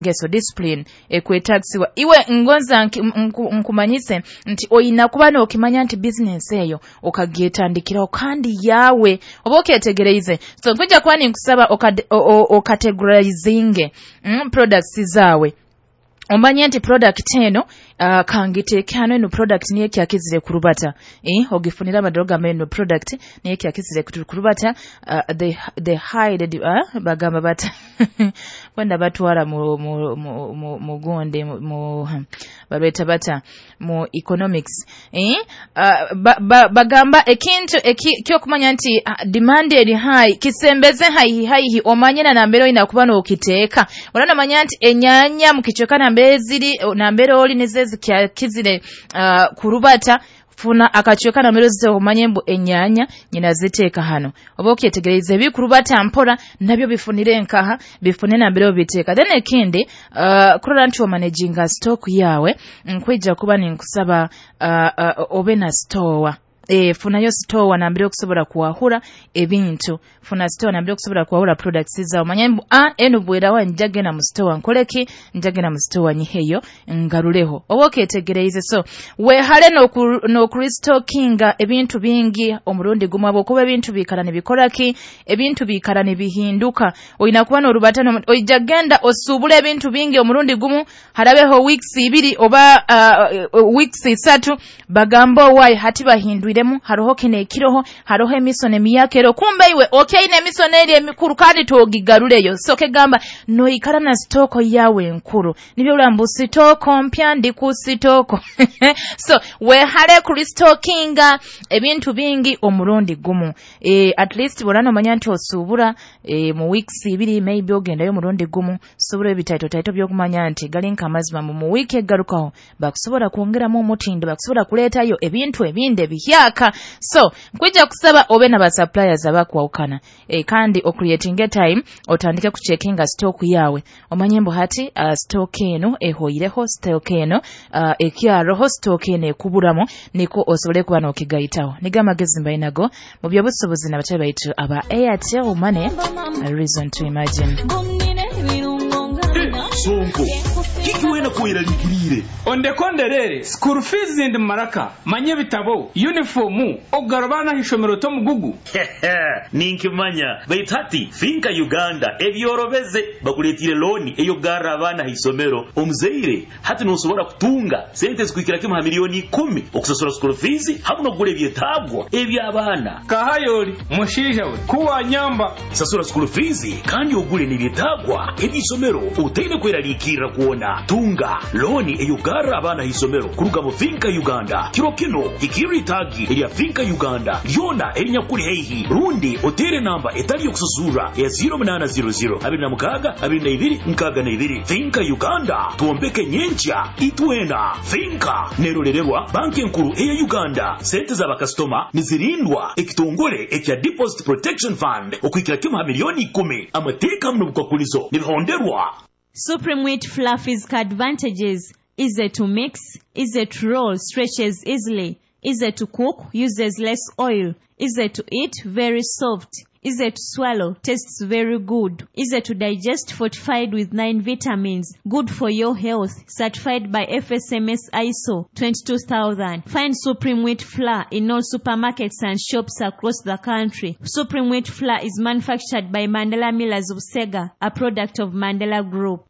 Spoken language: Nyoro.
Ngeso, discipline ekwetagisibwa. Iwe ngonza nkumanyise nti oyina kuba n'okimanya nti bizinensi eyo okagyetandikiraho kandi yawe, oba okyetegereize. So nkwija kuba ninkusaba okategorizinge products zaawe, omanye nti product eno kangiteeke hano, eno product niyo ekyakizire kurubata, ogifunire amadoro gamba eno product niyo ekyakizire kurubata. The high bagamba bata kwenda batwara mu gundi mu balweta bata mu economics, bagamba ekintu ekyokumanya nti demand eri high, kisembeze haihi haihi, omanye na nambere oyina kuba n'okiteeka. Olana omanya nti enyanya mu kicweka nambere ziri, nambere oli nizo ezikyakizire kurubata, funa akacweka nambere zite, omanye mbu enyanya nyina ziteeka hano. Oba okyetegereza, ebikurubata mpora nabyo bifunire nkaha, bifune nambere obiteeka. Then ekindi, kurora nti omanaginga stock yawe, nkwija kuba ninkusaba obe na store. Funayo store nambere okusobola kuwahura ebintu, funa store nambere okusobola kuwahura products zawe. Manye mbu eno bwerawa njagenda mu store nkoleki, njagenda mu store nyiheyo ngaruleho. Oba okyetegereize. So wehale n'okurestockinga ebintu bingi omurundi gumu, habwokuba ebintu biikara nibikoraki, ebintu biikara nibihinduka. Oyina kuba n'orubata, oija genda osuubula ebintu bingi omurundi gumu, harabeho weeks 2 oba weeks 3, bagamba owaayi hati bahindwiremu, haroho kino ekiroho, haroho emisono emiyaka ero, kumbe iwe okyaine emisono eri emikuru kandi togigaruleyo. So kegamba noikara na stock yawe enkuru, nibyo mbu stock mpya ndi ku stock. So wehale kurestockinga ebintu bingi omurundi gumu. At least borana omanya nti osuubura mu weeks 2, maybe ogendayo omurundi gumu, sobola ebitaito taito byokumanya nti gali nk'amazima mu wiiki egarukaho bakusobola kwongeramu omutindo, bakusobola kuleetayo ebintu ebindi ebihyaka. So nkwija kusaba obe na basuppliers abakwawukana, kandi ocreating time otandike kucheckinga stock yawe, omanye mbu hati stock eno ehoireho, stock eno ekyaroho, stock eno ekuburamu, niko osobole kuba n'okigayitaho. Nigo amagezi mbainago mu byobusuubuzi n'abatali baitu aba Airtel Money, a reason to imagine. Sonko, kiki wena kweraliikiriire? Ondekonderere school fees ndi maraka manye ebitabo, uniform, okugarura abaana ah'ishomero tomugugu. Ninkimanya, baitu hati FINCA Uganda ebyorobeze, bakuleetire looni ey'okugarra abaana ha isomero. Omuzaire hati nosobora kutunga sente zikuhikira kimu ha miliyoni 10 okusasura school fees hamu n'okugura ebyetaagwa eby'abaana. Kahayoli mushaija we kuwanyamba. Sasura school fees kandi ogule n'ebyetaagwa eby'isomero otaine kweraliikirra kwona. Tunga looni ey'okugarra abaana ha isomero kuruga mu FINCA Uganda. Kiro kino hikirra itaagi erya FINCA Uganda lyona erinyakuli haihi, rundi oteere namba etali yokusasurra ya 0800 26 22 62. FINCA Uganda, twombeke nyenkya itwena. FINCA nerolererwa Banki Enkuru eya Uganda. Sente z'abakasitoma nizirindwa ekitongole ekya Deposit Protection Fund okuhikira kimu ha miliyoni 10. Amateeka hamu n'obukwakulizo nibihonderwa. Supreme Wheat Fluffy's advantages: easy to mix, easy to roll, stretches easily, easy to cook, uses less oil, easy to eat, very soft, easy to swallow, tastes very good, easy to digest, fortified with 9 vitamins, good for your health, certified by FSMS ISO 22000. Find Supreme Wheat Flour in all supermarkets and shops across the country. Supreme Wheat Flour is manufactured by Mandela Millers of Sega, a product of Mandela Group.